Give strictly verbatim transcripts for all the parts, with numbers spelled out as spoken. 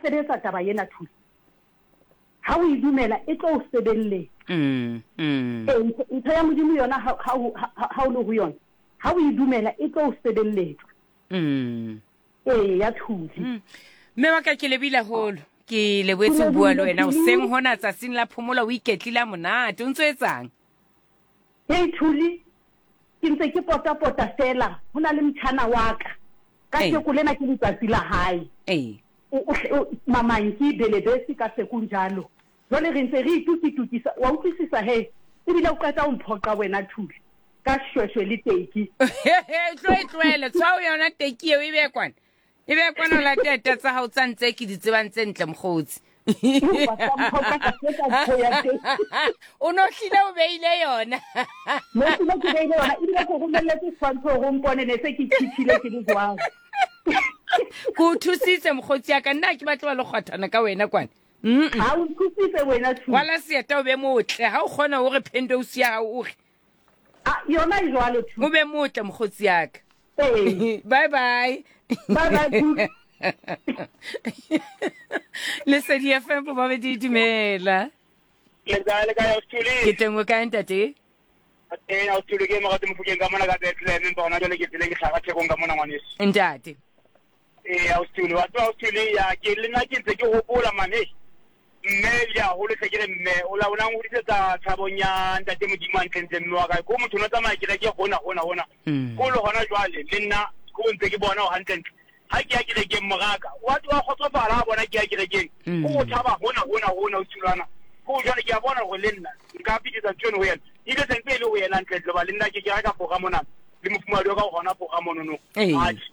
Sebetsa taba ena Thuli. Ha o e dumela e tlo o sebelletsa. Mm, mm. Ee, ntho ntho ya Modimo yona ha ha o ha ha o le ho yona, ha o e dumela e tlo o sebelletsa. Mm. Ee, ya Thuli. Mm. Mme wa ka ke lebile haholo. Ke Ke lebohetse ho bua le lebohile wena Thuli. hoseng hona tsatsing la phomolo o iketlile ha monate. O ntso etsang? Hei Thuli, ke ntse ke potapota feela, ho na le motjhana wa ka. Ee. Kajeko lena ke letsatsi la hae. Ee. O, o, o, mamanki belebesi ka sekunjalo. Jwale re ntse re itukitukisa, wa utlwisisa he, ebile o qeta ho mphoqa wena Thuli ka shweshwe le teki. Tlo e tlohele, tshwao yona teki eo e be kwana. E be kwana o late tsa hao tsa ntse ke di tsebang tse ntle mokgotsi. Wa ka mphoqa ka fetsa ntho ya teng. O no hlile o beile yona. Ne hlile ke beile yona, ebile ke o romelletse setshwantsho hore o mpone ne se ke tjhitjhile ke le jwalo. Ke o thusitse mokgotsi ya ka, nna ha ke batle wa le kgwathana ka wena kwana. Mm-mm. Ha o nthusitse wena Thuli. Rwala seeta o be motle, ha o kgona hore phendouse ya hao o re. Ah, yona e jwalo Thuli. O be motle mokgotsi ya ka. Ee. Bye bye. Bye bye Thuli. Lesedi F M bobabedi dumela. Le kae, le kae, Ausi Ke teng o kae ntate? Teng Ausi ke Morati Mofokeng ka mona ka Bethlehem, empa hona jwale ke tseleng ke hlaha Thekong ka mona ngwaneso. Ntate. Ee, Ausi wa tseba Ausi ya ke le nna ke ntse ke hopola man, hey. Mme le haholo hle ke re mme o la o la ngodisetsa tshabong ya ntate Modimo hantle ntle mme wa kae. Ko motho no tsamaya kereke hona hona hona. Mm. Ko le hona jwale le nna ko ntse ke bona ho hantle ntle. Ha ke ya kerekeng moraka, wa wa kgotsofala ha bona ke ya kerekeng. Mm. Ko o thaba hona hona hona o thulana. Ko jwale ke a bona hore le nna nka fetisa ntho eno ho yena. Ebile sentse e le ho yena ntle ntle ba le nna ke ke reka pora mona le mofumahadi wa ka o hona pora mono no. Ee. Atjhe.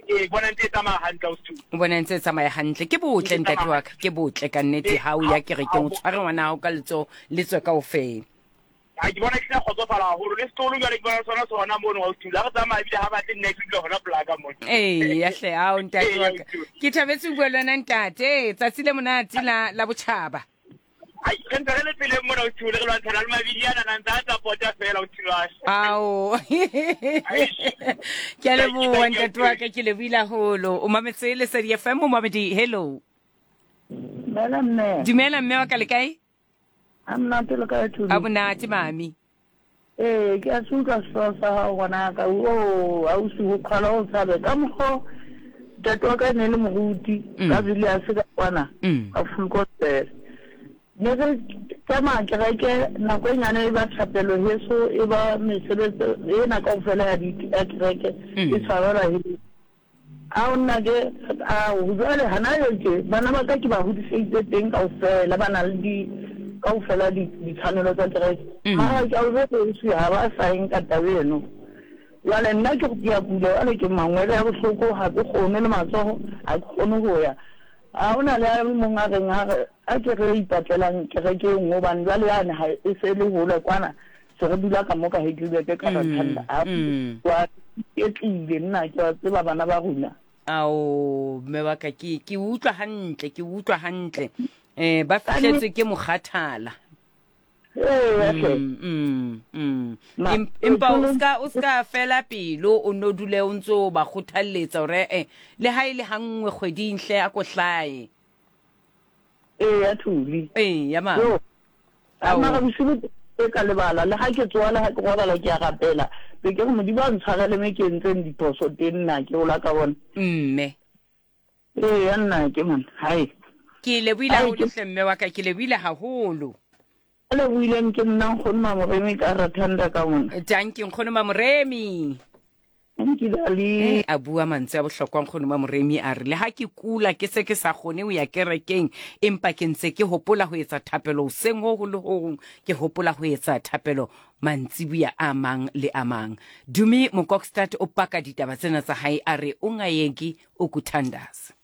Ee, bona ntse e tsamaya hantle ausi Thuli. O bona ntse e tsamaya hantle. Ke botle ntate wa ka, ke botle ka nnete ha o ya kerekeng o tshware ngwana hao ka letsoho le tswe kaofela. Ha ke bona ke tla kgotsofala haholo le setolo jwale ke bona sona sona mono ausi Thuli. Ha re tsamaya ebile ha batle nna ke dula hona polaka mona. Ee, ya hle, ao ntate Ee, wa ka. ausi Thuli. Ke thabetse ho bua le wena ntate, tsatsi le monate la la botjhaba. Ai, re ntse re le tseleng mona ausi Thuli, re lwantshana le mabidi ana na ntse a tsa pota fela ausi Thuli. Ao. Ke a leboha ntate wa ka, ke lebohile haholo. O mametse Lesedi F M, o mamedi, hello. Dumela mme. Dumela mme wa ka, le kae? Ha monate le kae Thuli? Ha monate mami. Ee, ke a se utlwa sehlooho sa hao ngwanaka. O, ausi ho qhwala o tshabe. Ka mokgo ntate wa ka e ne le moruti Mm. ka Villiers ka kwana, Mm. ka full gospel. Ne re tsamaya kereke nako e nyane e ba thapelo heso e ba mesebetsi ena kaofela ya di ya kereke Mm. e tshwarelwa heso. Ao nna ke ao jwale hana yo ke bana ba ka ke ba hodiseditse teng kaofela ba na le di kaofela di ditshwanelo tsa kereke. Mm. Mara ke a o jwetsa ausi ha ba sa e nka taba eno. Jwale nna ke ke a kula jwale ke mangwele a bohloko ha ke kgone le matsoho ha ke kgone ho ya. Ha hona le a mong a reng a re a ke re ipatlelang kereke e nngwe hobane jwale yane ha e se le hole kwana se re dula ka mo ka Heidelberg ka Mm, Rathanda. A mm. wa iketlile nna ke wa tseba bana ba rona. Ao mme wa ka ke ke utlwa hantle, ke utlwa hantle. Eh ba fihletswe ke mokgathala. Ee, hle. Mm, mm, mm. Ma- Em-, empa o Thuli- ska, o ska fela pelo, o no dule o ntso ba kgothalletsa hore, eh, le ha e le ha nngwe kgweding hle a ko hlae. Ee, ya Thuli. Ee, ya mama. Yo. A Ao. mara bosigo ke ka lebala, le ha ke tsoha le ha ke robala ke a rapela. Be ke re Modimo a ntshwarele me ke entseng diphoso teng nna ke hola ka bona. Mme. Ee, ya nna ke mona. Hai. Ke lebohile Ai, haholo ke- hle mme wa ka, ke lebohile haholo. A lebohileng ke nna nkgono Mamoremi ka Rathanda ka mona. Dankie nkgono Mamoremi. Thank you, darling. Eh, a bua mantswe a bohlokwa nkgono Mamoremi a re le ha ke kula ke se ke sa kgone ho ya kerekeng empa ke ntse ke hopola ho etsa thapelo hoseng ho ho le ho hong, ke hopola ho etsa thapelo mantsibuya a mang le a mang. Dumi Mokokstad o paka ditaba tsena tsa hae a re o ngayeki o kuthandaza.